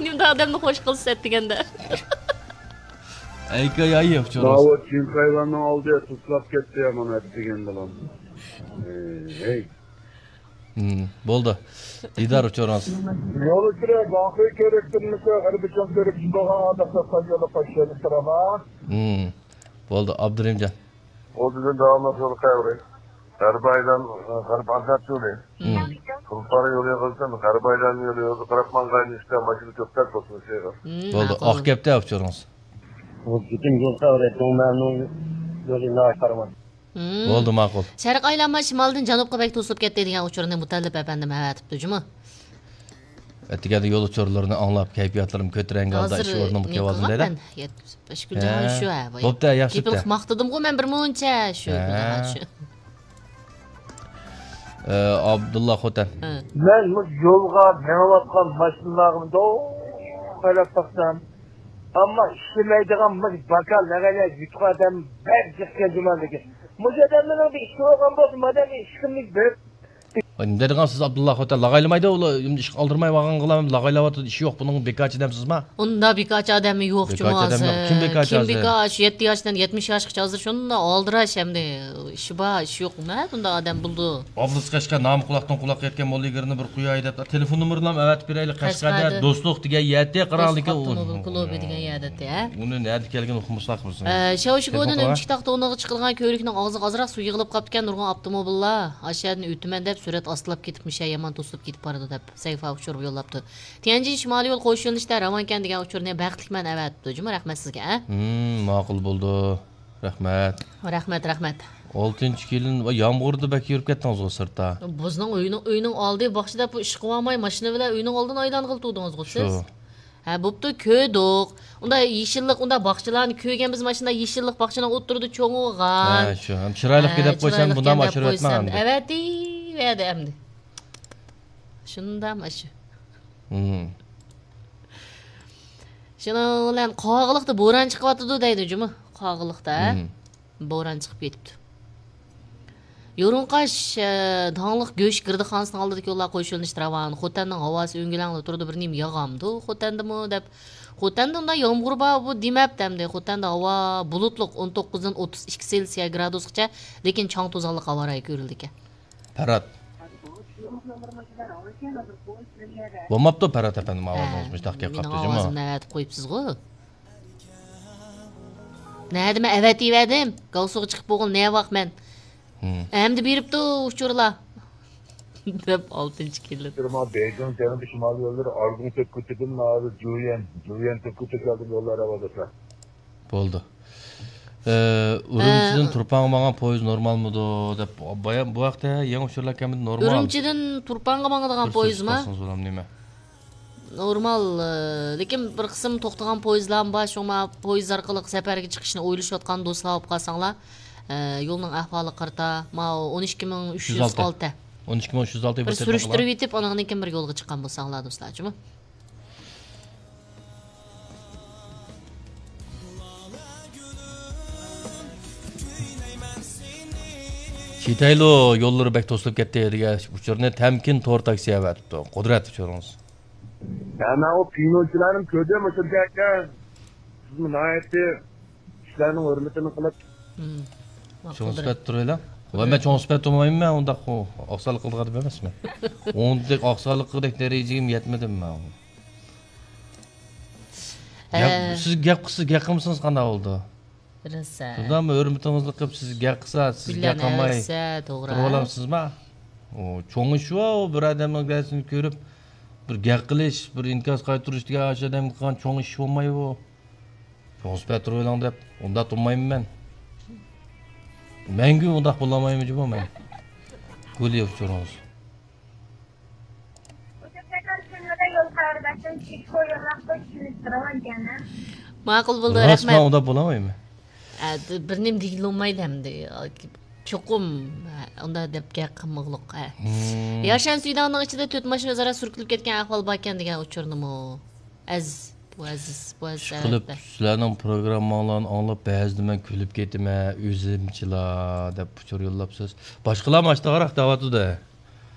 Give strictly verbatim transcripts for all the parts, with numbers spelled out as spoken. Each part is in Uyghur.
ئادەمنى خوش قىلسا دېگەندە. ئەيكايايېۋ چورۇس. ماۋۇ چىڭخەيۋەننىڭ ئالدى تۇتلاپ كەتتى يا مانا دېگەن بىلەن. ھەي. بولدى. دىدار ئۇچۇرىڭىز. يول ئۈستىدە باقى كۆرۈپ تۇرمىسا، غەربىچىڭ كۆرۈپ چىقىدىغان ئادەم ساييولى قوشۇلۇپ تۇرىما. بولدى، ئابدۇرېھىمجان. ئۇ بۈگۈن داۋاملىق يول قەۋرى. غەربىي ئايلان، غەربىي ئازاد يولى. تۇلپار يولى قىلسام، غەربىي ئايلان يولى، يولغا قاراپ ماڭغان ئىشتا ماشىنا كۆپتەك بولسۇن شۇ يەرگە. بولدى، ئاق گەپتە ئۇچۇرىڭىز. بۇ پۈتۈن يول قەۋرى، دۇڭمەننىڭ يولى ناھايىتى قارىماق. بولدى، ماقۇل. شەرقىي ئايلانما شىمالدىن جەنۇبقا بەك توسۇلۇپ كەتتى دېگەن ئۇچۇرنى مۇتەللىپ ئەپەندىم ئەۋەتىپتۇ جۇمۇ. ئەتىگەندە يول ئۇچۇرلىرىنى ئاڭلاپ، كەيپىياتلىرىم كۆتۈرەڭگۈ ھالدا ئىش ھازىر ئورنۇمغا نېمە كېلىۋالدىم قىلغان دەيدۇ. مەن؟ يەتكۈزۈپ، ئىش كۈنى ھە. شۇ، ھە، بۇ بوپتۇ، ياخشى گېپىڭىز بوپتۇ. ماختىدىمغۇ مەن بىر مۇنچە شۇ ھە. شۇ. ئابدۇللا خوتەن. ھە. مەن مۇشۇ يولغا مېڭىۋاتقان ماشىنىلارغا مۇنداق قاراپ باقسام، ئەمما ئىشلىمەيدىغان مۇشۇ باكا لەگەيلەر يۇتۇق ئادەم بەك جىق كەلدى ماندىكى. مۇشۇ ئادەملەرنىڭ بىر ئىشى بولغان بولسا، مادەم ئىش قىلمىش بېرىپ. نېمە دەيدىغان سىز، ئابدۇللا خوتەن؟ لاغايلىمايدۇ ئۇلار، ئىش ئالدىرماي بارغانغىلا لاغايلاۋاتىدۇ، ئىشى يوق بۇنىڭ، بىكارچى دەمسىزما؟ ئۇنداق بىكارچى ئادەممۇ يوق جۇمۇ بىكارچى ئادەم ھازىر. يوق. كىم بىكارچى كىم ھازىر؟ بىكار؟ شۇ يەتتە ياشتىن يەتمىش ياشقىچە ھازىر شۇنداق ئالدىراش ئەمدى. ئىشى بار، ئىشى يوق. نەدە ئۇنداق ئادەم بولىدۇ؟ ئابلىز قەشقەر نامى قۇلاقتىن قۇلاققا يەتكەن موللىگىرنى بىر قوياي دەپ، تېلېفون نومۇرلارنى ئەۋەتىپ بېرەيلى. قەشقەردە قەشقەردە. دوستلۇق دېگەن يەتتە قىراڭدىكى دوستلۇق ئاپتوموبىل كۇلۇبى دېگەن يەردە ئەتە. ئۇنى نەدە كەلگىنى ئۇقمىساق بىز. ئە، شاۋشى تېلېفون گودىن قىلغان. ئۆمۈچۈك تاختا ئورنىغا چىقىدىغان كۆۋرۈكنىڭ ئاغزىغا ئازراق سۇ يىغىلىپ قاپتىكەن، نۇرغۇن ئاپتوموبىللار ئاشۇ يەردىن ئۆتىمەن دەپ سۈرئەت ئاستىلاپ كېتىپ، مۇشۇ يامان توسۇلۇپ كېتىپ بارىدۇ دەپ سەھىپە ئۇچۇر يوللاپتۇ. تيەنجىن شىمالىي يول قوش يۆنىلىشتە راۋانكەن دېگەن ئۇچۇرنى بەختلىك مەن ئەۋەتىپتۇ جۇمۇ، رەھمەت سىزگە، ھە؟ ھىم، ماقۇل بولدى. رەھمەت. رەھمەت، رەھمەت. ئالتىنچى كېلىن، ۋاي، يامغۇردا بەك يۈرۈپ كەتتىڭىزغۇ سىرتتا. بىزنىڭ ئۆينىڭ، ئۆينىڭ ئالدى باخچىدا بۇ ئىش قىلالماي، ماشىنا بىلەن ئۆينىڭ ئالدىنى ئايلانغىلى تۇردىڭىزغۇ سىز. شۇ. ھە، بوپتۇ، كۆردۇق. ئۇندا يېشىللىق، ئۇندا باخچىلارنى كۆرگەن بىز، ماشىنا يېشىللىق باخچىنىڭ ئوتتۇرىدا چوڭىغان. ھە، شۇ. ھەم چىرايلىق ھە، دەپ قويسام، چىرايلىق بۇنداق دەپ ئاشۇرۇۋەتمەڭ قويسام. ئەمدى. ئەۋەتىۋەردى ئەمدى. شۇنداق ئاشۇ. ھىم. شۇنىڭ بىلەن قاغىلىقتا بوران چىقىۋاتىدۇ دەيدۇ جۇمۇ. قاغىلىقتا، ھە؟ ھىم. بوران چىقىپ كېتىپتۇ. يورۇڭقاش، ئە، داڭلىق گۆش گىردىخانىسىنىڭ ئالدىدىكى يوللار قوش يۆنىلىشتە راۋان. خوتەننىڭ ھاۋاسى ئۆڭگۈلەڭدە تۇرىدۇ، بىر نېمە ياغامدۇ خوتەندىمۇ دەپ. خوتەندە ئۇنداق يامغۇر بار بۇ دېمەپتۇ ئەمدى. خوتەندە ھاۋا بۇلۇتلۇق، ئون توققۇزدىن ئوتتۇز ئىككى سېلسىيە گرادۇسقىچە، لېكىن چاڭ توزانلىق ھاۋا رايى كۆرۈلىدىكەن. پەرھات. بولماپتۇ پەرھات ئەپەندىم، ئاۋازىڭىز ھە، مۇشۇنداق گەپ مېنىڭ قاپتۇ جۇمۇ. ئاۋازىمنى ئەۋەتىپ قويۇپسىزغۇ. نەدە مەن ئەۋەتىۋەردىم. گاۋسۇغا چىقىپ بولغىلى نەۋاق مەن. ھىم. ئەمدى بېرىپتۇ ئۇچۇرلار. دەپ ئالتىنچى كېلىپ. ماڭا بېيجىڭ جەنۇبىي شىمالىي يوللىرى ئارگۇڭ تۆت كوچىدىن ھازىر جۇيۈەن، جۇيۈەن تۆت كوچىغا كەلدىم، يوللار ئاۋارە. بولدى. ئە، ئۈرۈمچىدىن ئە، تۇرپانغا ماڭغان پويىز نورمالمىدۇ دەپ، بايا-، بۇ ھەقتە يېڭى ئۇچۇرلار كەلمىدى، نورمال. ئۈرۈمچىدىن تۇرپانغا ماڭىدىغان پويىزما؟ بىر سۆز قىلسىڭىز بولامدۇ نېمە؟ نورمال، ئە، لېكىن بىر قىسىم توختىغان پويىزلارمۇ بار، شۇڭا پويىز ئارقىلىق سەپەرگە چىقىشنى ئويلىشىۋاتقان دوستلار بولۇپ قالساڭلار، ئە، يولنىڭ ئەھۋالىغا قارىتا، ماۋۇ ئون ئىككى مىڭ ئۈچ يۈز ئالتە. ئون ئىككى مىڭ ئۈچ يۈز ئالتە بىر سۈرۈشتۈرۈۋېتىپ، ئانىڭدىن كېيىن بىر يولغا چىققان بولساڭلار، دوستلار، جۇمۇ. چىتايلو يوللىرى بەك توسۇلۇپ كەتتى دېگەن ئۇچۇرنى تەمكىن تور تاكسى ئەۋەتىپتۇ. قۇدرەت ئۇچۇرىڭىز. ھە، مەن ئۇ پىنوچىلارنى كۆردۈم، ئۇ يەردە. سىزمۇ ناھايىتى كىشىلەرنىڭ ھۆرمىتىنى قىلىپ. مم. چوڭ سۈپەت تۇرۇۋېلىڭ. ۋاي، مەن چوڭ سۈپەت تۇرمايمەن، مەن ئۇنداق ئۇ ئاقساقلىق قىلىدىغان ئادەم ئەمەسمەن. ئۇنداق ئاقساقلىق قىلغۇدەك دەرىجىگىمۇ يەتمىدىم مەن. ھە. گەپ، سىز گەپ قىلسىز، گەپ قىلمىسىڭىز قانداق بولىدۇ؟ بىلىسەن. شۇنداقمۇ ھۆرمىتىڭىزنى قىلىپ، سىز گەپ قىلسا، سىز گەپ قىلماي تۇرۇۋالامسىزما؟ ئۇ چوڭ ئىش ئۇ، بىر ئادەمنىڭ گەپسىنى كۆرۈپ، بىر گەپ قىلىش، بىر ئىنكاس قايتۇرۇش دېگەن ئاشۇ ئادەمگە قىلغان چوڭ ئىش بولمايدۇ. چوڭ سۈپەت تۇرۇۋېلىڭ دەپ، ئۇنداق تۇرمايمەن مەن. مەڭگۈ ئۇنداق بولالمايمەن جۇمۇ مەن. گۈلى ئۇچۇرىڭىز. ماقۇل بولدى، رەھمەت. ئۇنداق بولالمايمەن. ئە، بىر نېمە دېگىلى بولمايدۇ ئەمدى. چوقۇم، ئە، ئۇنداق دەپ گەپ قىلمىغۇلۇق، ئە. ياشان سۈيداڭنىڭ ئىچىدە تۆت ماشىنا ئۆزئارا سۈركىلىپ كەتكەن ئەھۋال باركەن دېگەن ئۇچۇرنىمۇ. ئەزىز، بۇ ئەزىز، بۇ ئەزىز، ئىشقىلىپ، ئەلۋەتتە. سىلەرنىڭ پروگرامماڭلارنى ئاڭلاپ، بەزىدە مەن كۈلۈپ كېتىمەن، ئۆزۈمچىلا دەپ ئۇچۇر يوللاپسىز. باشقىلارمۇ ئاشتاغراق دەۋاتىدۇ.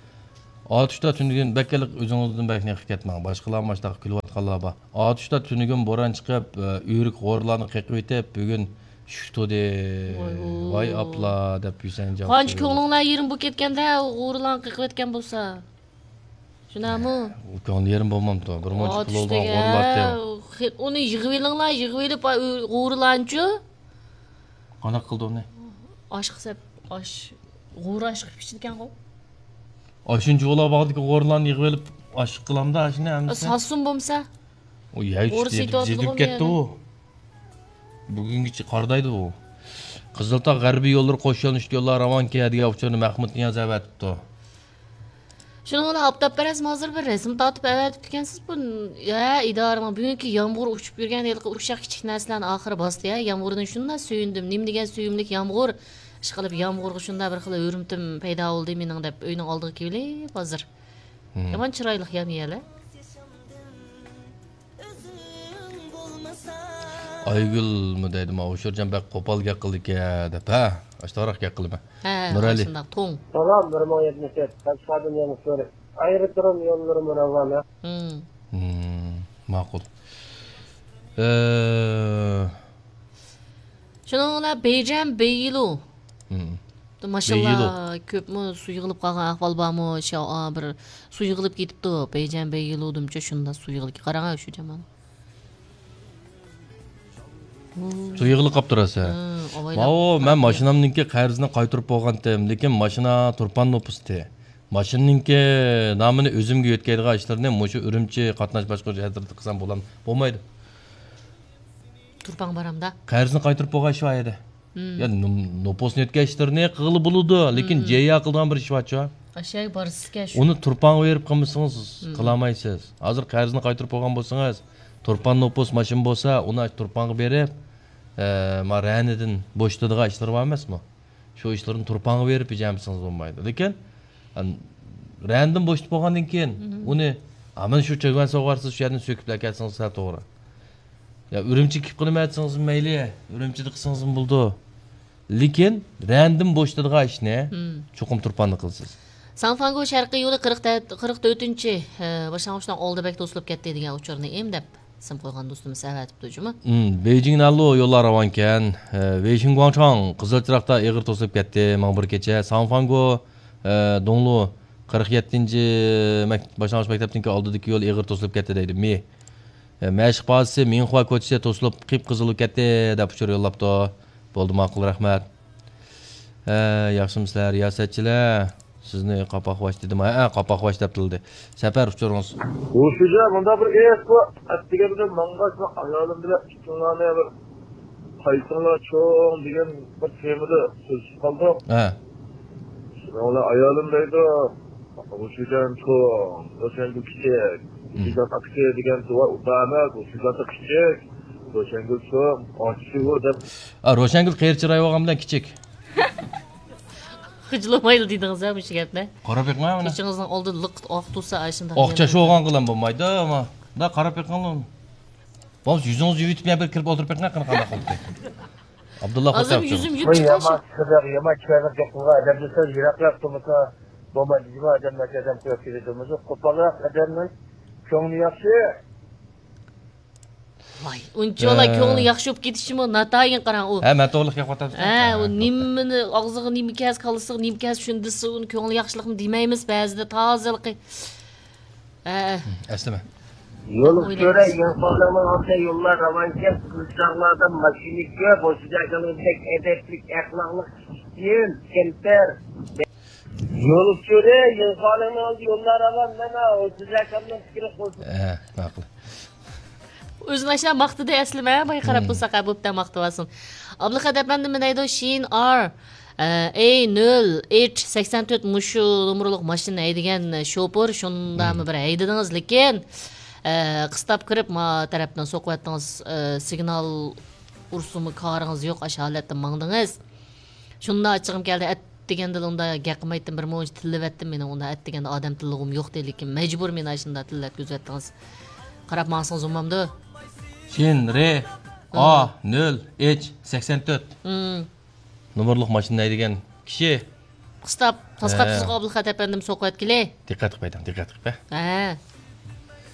ئاتۇشتا تۈنۈگۈن بەكرەك ئۆزىڭىزدىن بەك نېقىپ كەتمەڭ. باشقىلارمۇ ئاشتاق كۈلۈۋاتىدۇ. قالابا. ئاتۇشتا تۈنۈگۈن بوران چىقىپ، ئۆرۈك غورىلارنى قېقىۋېتىپ، بۈگۈن شۈك تۇدى. ۋاي، ۋاي ئاپلا، دەپ يۈسەن جاۋاب قانچە بېرىدۇ. كۆڭلۈڭلار يېرىم بولۇپ كەتكەندە، غورىلارنى قېقىۋەتكەن بولسا. شۇنداقمۇ؟ ئۇ كۆڭلى يېرىم بولمامتۇ؟ بىر مۇنچە پۇل ئاتۇشتىكى، بولىدىغان غورىلارتى. ھە، ئۇنى يىغىۋېلىڭلار، يىغىۋېلىپ، ئا، ئۆ-، غورىلارنىچۇ؟ قانداق قىلدى ئۇنى؟ ئاشقا سەپ، ئاش، غورا ئاش قىلىپ ئىچىدىكەنغۇ. ئاشۇنچە ئۇلار باغدىكى غورىلارنى يىغىۋېلىپ، ئاش قىلامدا ئاشۇنى ھەممىسى. ساتسۇن بولمىسا. ئۇ يەي غورا چۈشتى، سېتىۋاتىدىغۇ يېتىپ كەتتى يەنە. ئۇ. بۈگۈنگىچە قارىدايدۇ ئۇ. قىزىلتاغ غەربىي يوللىرى قوش يۆنىلىشلىك يوللار راۋانكى دېگەن ئۇچۇرنى مەخمۇت نىياز ئەۋەتىپتۇ. شۇنىڭ بىلەن ئاپتاپپەرەسمۇ ھازىر بىر رەسىم تارتىپ ئەۋەتىپتىكەنسىز. بۇ، ھە، ئىدارىمۇ بۈگۈنكى يامغۇر ئۇچۇپ يۈرگەن ھېلىقى ئۇششاق كىچىك نەرسىلەرنى ئاخىرى باستى، ھە. يامغۇردىن شۇنداق سۆيۈندۈم. نېمە دېگەن سۆيۈملۈك يامغۇر. ئىشقىلىپ، يامغۇرغا شۇنداق بىر خىل ھۆرمىتىم پەيدا بولدى مېنىڭ، دەپ ئۆينىڭ ئالدىغا كېلىپ ھازىر. مم. يامان چىرايلىق يەنە يەلە. ئايگۈلمۇ دەيدۇ، ما ئۇشۇرجان بەك قوپال گەپ قىلىدىكەن دەپ، ھە؟ ئاشتاراق گەپ قىلىمەن. ھە، نۇرئەلى. ئاشۇنداق توڭ. سالام، بىر مىڭ يەتمىش تۆت، قەشقەردىن يەنە سورى. ئايرىترۇم يوللىرىمۇ راۋانە. مم. مم، ماقۇل. ئە، شۇنىڭ بىلەن بېيجەن بېيلۇ. مم. ماشاللا، بېيلۇ. كۆپمۇ سۇ يىغىلىپ قالغان ئەھۋال بارمۇ؟ شا-، ئا، بىر سۇ يىغىلىپ كېتىپتۇ. بېيجەن بېيلۇدىمچۇ شۇنداق سۇ يىغىلىپ، قاراڭ شۇ جامال. سۇ يىغىلىپ قاپتۇ راسا. ھە، ئاۋايلاپ ماۋۇ، مەن قاپتۇ. ماشىنامنىڭكى قەرزىنى قايتۇرۇپ بولغانتىم، لېكىن ماشىنا تۇرپان نوپۇستى. ماشىنىنىڭكى نامىنى ئۆزۈمگە يۆتكەيدىغان ئىشلىرىنى مۇشۇ ئۈرۈمچى قاتناش باشقۇرۇش ئەترىتىدە قىلسام بولام-، بولمايدۇ. تۇرپان بارامدا. قەرزنى قايتۇرۇپ بولغان ئىش بار ئىدى. مم. يا نوم-، نوپۇسنى يۆتكەش ئىشلىرىنى قىلغىلى بولىدۇ، لېكىن مم. جەييا قىلىدىغان بىر ئىش بارچۇ. ئاشۇ يەرگە بارسىزكەن شۇ. ئۇنى تۇرپانغا بېرىپ قىلمىسىڭىز مم. قىلالمايسىز. ھازىر قەرزنى قايتۇرۇپ بولغان بولسىڭىز، تۇرپان نوپۇس ماشىنا بولسا، ئۇنى تۇرپانغا بېرىپ، ئە، ما رەنىدىن بوشىتىدىغان ئىشلىرى بار ئەمەسمۇ؟ شۇ ئىشلىرىنى تۇرپانغا بېرىپ بېجەرمىسىڭىز بولمايدۇ. لېكىن، ئەن-، رەندىن بوشىتىپ بولغاندىن كېيىن، مم. ئۇنى، «ئا، مانا شۇ چۆگەن سوغارسىز، شۇ يەردىن سۆكۈپ ئەكەلسىڭىز سەل توغرا. يا ئۈرۈمچىگە كېلىپ قىلىمەن دېسىڭىزمۇ مەيلى، ئۈرۈمچىدە قىلسىڭىزمۇ بولىدۇ. لېكىن رەندىن بوشىتىدىغان ئىشنى مم. چوقۇم تۇرپاندا قىلىسىز.» ساڭفاڭگو شەرقىي يولى قىرىق تۆتىنچى، ئە، باشلانغۇچنىڭ ئالدى بەك توسۇلۇپ كەتتى دېگەن ئۇچۇرنى ئىم دەپ. ئىسىم قويغان دوستىمىز ئەۋەتىپتۇ جۇمۇ. مم، بېيجىڭ نەلۇ يوللار راۋانكەن. ئە، ۋېيشىڭ گۇاڭچاڭ قىزىل چىراغدا ئېغىر توسۇلۇپ كەتتى. ماڭا بىر كېچە. ساڭفاڭگو، ئە، دۇڭلۇ قىرىق يەتتىنچى مەك-، باشلانغۇچ مەكتەپنىڭكى ئالدىدىكى يول ئېغىر توسۇلۇپ كەتتى دەيدۇ. مى. ئە، مەشىق بازىسى مىڭخۇا كوچىسى توسۇلۇپ قىپقىزىل بولۇپ كەتتى دەپ ئۇچۇر يوللاپتۇ. بولدى، ماقۇل، رەھمەت. ھە، ياخشىمۇسىلەر، رىياسەتچىلەر؟ سىزنى قاپاقۋاش دېدىم. ھە، قاپاقۋاش دەپ تىللىدى. سەپەر ئۇچۇرىڭىز. ھوشۇجان، مۇنداق بىر ئىش بار. ئەتىگەندە ماڭغاچ، مەن ئايالىم بىلەن ئىككىڭلارنى بىر قايتىڭلار چوڭ دېگەن بىر تېمىدا سۆزلىشىپ قالدۇق. ھە. شۇنىڭ بىلەن ئايالىم دەيدۇ، ھوشۇجان چوڭ، روشەنگۈل كىچىك. مم. ھوشۇجان ئاكىسى دېگەن بار ئەمەس، ھوشۇجان كىچىك، روشەنگۈل چوڭ، ئاچىسى بۇ دەپ. ئا، روشەنگۈل قېرى چىراي بولغان بىلەن كىچىك. خىجىللىمايلا دېدىڭىز ھە مۇشۇ گەپنى. قاراپ بېقىڭ مانا. كېچىڭىزنىڭ ئالدىدا لىقىت ئاق تۇرسا ئاشۇنداق. ئاق چاچ بولغان قىلام بولمايدۇ ئەمما. دا قاراپ بېقىڭلار. بولمىسا يۈزىڭىزنى يۇيۇۋېتىپ يەنە بىر كىرىپ ئولتۇرۇپ بېقىڭ قېنى قانداق قىلدى. ئابدۇللا ھازىر خوتەن يۈزۈم يۇيۇپ يامان چىقىشى. سىرلىق، يامان چىرايلىق گەپ قىلغان ئادەم دېسە يىراقراق تۇرمىسا بولمايدۇ. جۇما ئادەم ناچار ئادەم قويۇپ كېتىدۇ. قوپالراق ئادەمنىڭ كۆڭلى ياخشى. ۋاي، ئۇنچىۋالا ھە. كۆڭلى ياخشى بولۇپ كېتىشىمۇ ناتايىن قاراڭ ئۇ. ھە، مەن توغرىلىق گەپ قىلىۋاتامسىز؟ ھە، ھە، ئۇ ھە، نېمىنى ئاغزىغا نېمە كەلسە، كاللىسىغا نېمە كەلسە شۇنى دېسە، ئۇنى كۆڭلى ياخشىلىقمۇ دېمەيمىز بەزىدە تازىلىقى. ھە. ئەسلىمە. يول ئۇچۇرى، يول خالىڭنىڭ ئالدىدا يوللار راۋانكەن، قىزچاقلاردا ماشىنا كۆپ، ئوشۇ جايلاردا بەك ئەدەپلىك، ئەخلاقلىق، كىچىككىن، كەمتەر. يول ئۇچۇرى، يول خالىڭنىڭ ئالدىدا يوللار راۋان، مانا، ئوشۇ جايلارنىڭ پىكرى قوشۇلۇپ. ھە، ماقۇل. ئۆزىنى ئاشۇنداق ماختىدى ئەسلىمە، باي قاراپ مم. تۇرساق، ھە، بوپتە ماختىۋالسۇن. ئابلىخەت ئەپەندىم دەيدۇ، شىن ئار، ئە، ئەي نۆل ئېچ سەكسەن تۆت مۇشۇ نومۇرلۇق ماشىنا ھەيدىگەن شوپۇر، شۇنداقمۇ مم. بىر ھەيدىدىڭىز، لېكىن، ئە، قىستاپ كىرىپ، ما تەرەپتىن سوقۇۋەتتىڭىز، ئە، سىگنال ئۇرسىمۇ كارىڭىز يوق، ئاشۇ ھالەتتە ماڭدىڭىز. شۇنداق ئاچچىقىم كەلدى، ئەتىگەندىلا ئۇنداق گەپ قىلمايتتىم، بىر مۇنچە تىللىۋەتتىم، مېنىڭ ئۇنداق ئەتىگەندە ئادەم تىللىغۇم يوق ئىدى، لېكىن مەجبۇر مېنى ئاشۇنداق تىللەتكۈزۈۋەتتىڭىز. قاراپ ماڭسىڭىز بولمامدۇ؟ شىن رې، ئا، نۆل ئېچ سەكسەن تۆت. مم. نومۇرلۇق ماشىنا ھەيدىگەن كىشى. قىستاپ، تاسقا ھە. تىزغا ئابلىخەت ئەپەندىم سوقۇۋەتكىلى. دىققەت قىلىپ ئېيتىڭ، دىققەت قىلىپ، ھە. ھە.